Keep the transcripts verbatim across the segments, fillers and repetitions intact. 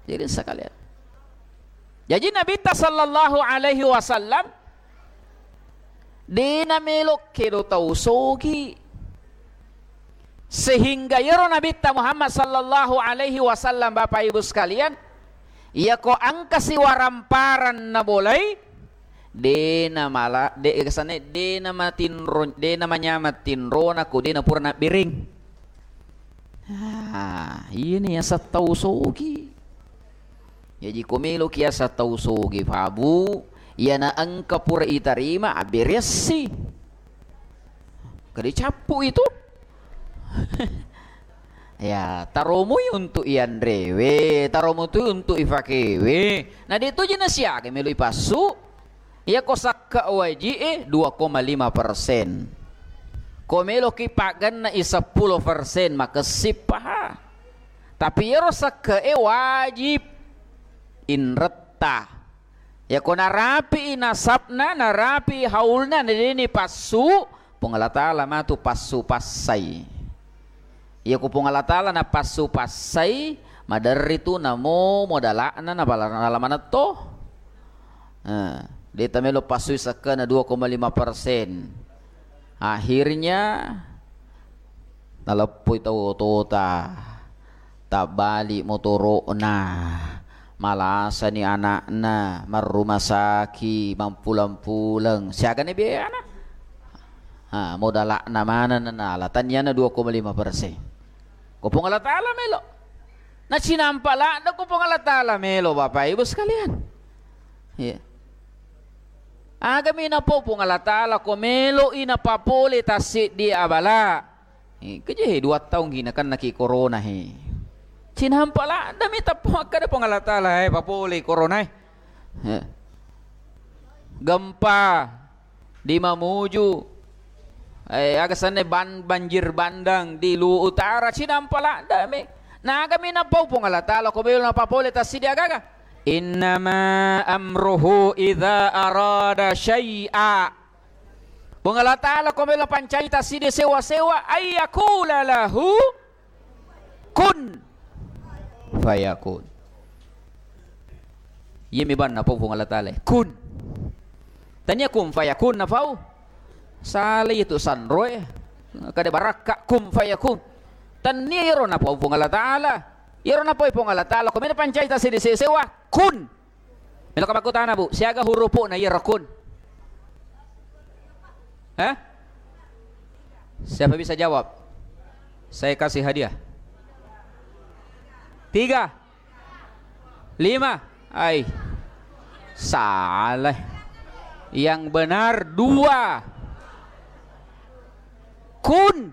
Jadi sekalian. Jaji Nabitta sallallahu alaihi wasallam dena melo kedo tau sogi. Sehingga yero Nabitta Muhammad sallallahu alaihi wasallam, Bapak Ibu sekalian, iyako engka siwaramparang nabolai, dena mala, de, kesane, dena matinro, dena manyameng tinrona ko dena pura nabbereng. Ah, ini yaseng tau sogi. Jaji ko meloki yaseng tau sogi, Pak Bu, iyana engka pura itarima, abberessi. Kade cappu itu. Ya, taromui untuk ianrewe, taromu tu untuk ifakewe. Na de toji nasiaga melo ipassu. Iyako sakke waji'e dua koma lima persen. Ko meloki paggenna i seppulo persen, makessip paha. Tapi iyaro sakke'e wajib inretta. Iyako narapi'i nasabna, narapi'i haulna, nadeni passu, Puang Allah Ta'ala matu passu passai. Iyako Puang Allah Ta'ala napassu passai, maderri tu namo modala'na nabala-, nala manetto. Eh, de tamelo passui sakkena dua koma lima persen. Akhirnya, naleppoi tau otota, tabbali motoro'na, malasani ana'na, marruma saki, mampulang-pulang, siagani biayana? Ha, modala'na maneng nanala, taniana dua koma lima persen. Ko Puang Allah Ta'ala melo. Nacinampa ladde ko Puang Allah Ta'ala melo, Bapak Ibu sekalian. Iya. Agami napau Puang Allah Ta'ala ko meloi napapole tassiddi abala. Eh, keje he dua taung hina kan naki corona he. Cinampa ladde mi tappa makkada Puang Allah Ta'ala, eh, papole corona, eh. Eh. Gempa di Mamuju, eh, aga senna ban-, banjir bandang di Luwu Utara, cinampa ladde mi. Nagami napau Puang Allah Ta'ala ko melo napapole tassiddi agaga. Innama amruhu idza arada syai'a. Puang Allah Ta'ala ko melo pancai tassiddi sewa-sewa, ayyakula lahu kun fayakun. Iyami banna pau Puang Allah Ta'ala, kun. Tania kun fayakun napau. Sala itu sanroe. Kada barakka kun fayakun. Tania iyaro napau Puang Allah Ta'ala. Iyaro napau Puang Allah Ta'ala, ko melo pancai tassiddi sewa-sewa, kun. Melo ka makkutana, Bu, siaga hurupu'na iyaro kun? Hah? Siapa bisa jawab? Saya kasih hadiah. Tiga. Lima. Ai. Salah. Yang benar dua. Kun.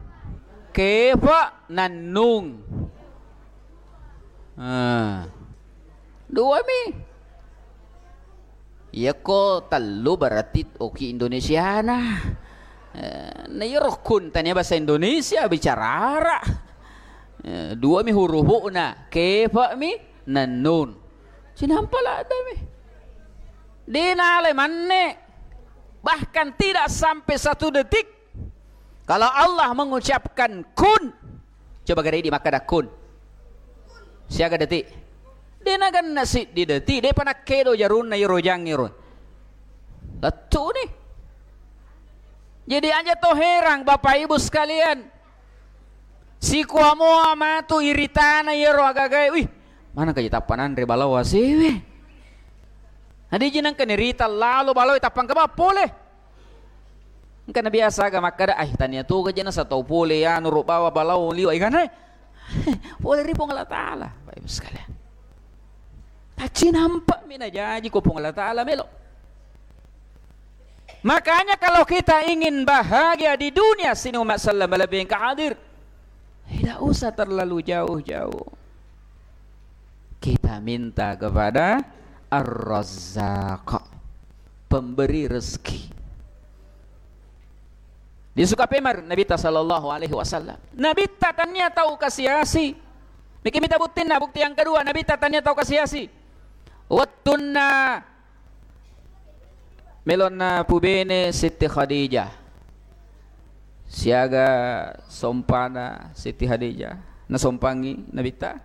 Kefa. Nannung. Ah. Dua mi. Iyako tellu berarti oki Indonesiana. Eh, na iyaro kun tania bahasa Indonesia bicara Arab. Eh, dua mi hurupu'na, kefa mi, nannun. Cinampa ladde mi. De nalai manne. Bahkan tidak sampai satu detik. Kalau Allah mengucapkan kun, coba gare idi makkada kun. Siaga detik? De nagenna siddi detik, depa nakkedo jarunna iro jangngiro. Lettu ni. Jadi aja to herang Bapak Ibu sekalian. Sikuamoa matu iritana iyaro agagae, wih, mana kaji tappa nanre balawa sewe. Nadiji nengka nirita lalo balawa tappa engka ba pole. Engka na biasa aga makkada, "Ai, tania toga jena satau pole anu ro bawa balawa liwa igana." Pole ri Puang Allah Ta'ala, Bapak Ibu sekalian. Tacinampa mi najaji ko Puang Allah Ta'ala melo. Makanya kalau kita ingin bahagia di dunia sini umat sallam lebih hadir, tidak usah terlalu jauh-jauh. Kita minta kepada Ar-Razzaq, pemberi rezeki. Disuka pemar Nabitta sallallahu alaihi wasallam. Nabitta tania tau kasiasi. Miki mita buktinna, bukti yang kedua, Nabitta tania tau kasiasi. Wettunna melonna pubene Siti Khadijah. Siaga sompana Siti Khadijah. Nasompangi Nabitta.